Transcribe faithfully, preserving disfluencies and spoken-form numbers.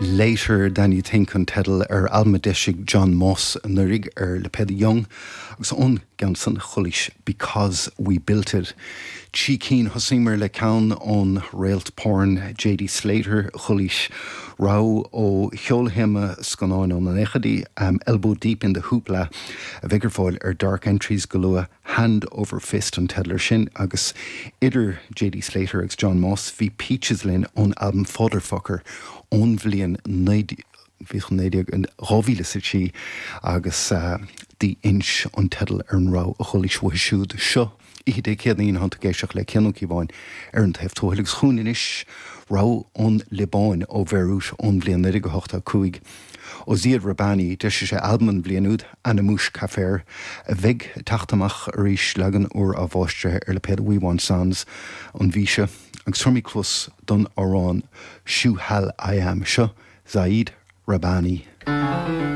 Later Than You Think an teideal ar albam a d'eisigh John Moss anuraidh ar lipéad Young agus ón gceann san chualaís Because We Built It. Trí cinn thosaíomar le ceann ón réalt porn J.D. Slater chualaís rogha ó cheolthéama scannáin ó na nóchaidí um, Elbow Deep in the Hoopla a bheidh ar fáil ar Dark Entries go luath Hand Over Fist an teideal air sin agus idir J.D. Slater agus John Moss bhí Peaches linn ón albam Fatherfucker ón bhliain dhá mhíle a trí agus uh, The Inch an teideal ar an rogha a chualaís uathu siúd seo. Oíche Dé Céadaoin tá tú ag éisteacht le Cian Ó Cíobháin ar an taobh tuathail agus chugainn anois rogha ón Liobáin ó Bhéiriút ón bhliain naoi déag ochtó cúig. Ó Ziad Rahbani d'eisigh sé albam an bhliain úd Ana Mouch Kafer a bheidh ag teacht amach arís leagan úr á mháistrithe ar lipéad We Want Sounds an mhí seo agus tabharfaimid cluas don amhrán Shu Hal I Am seo Zaid Rahbani.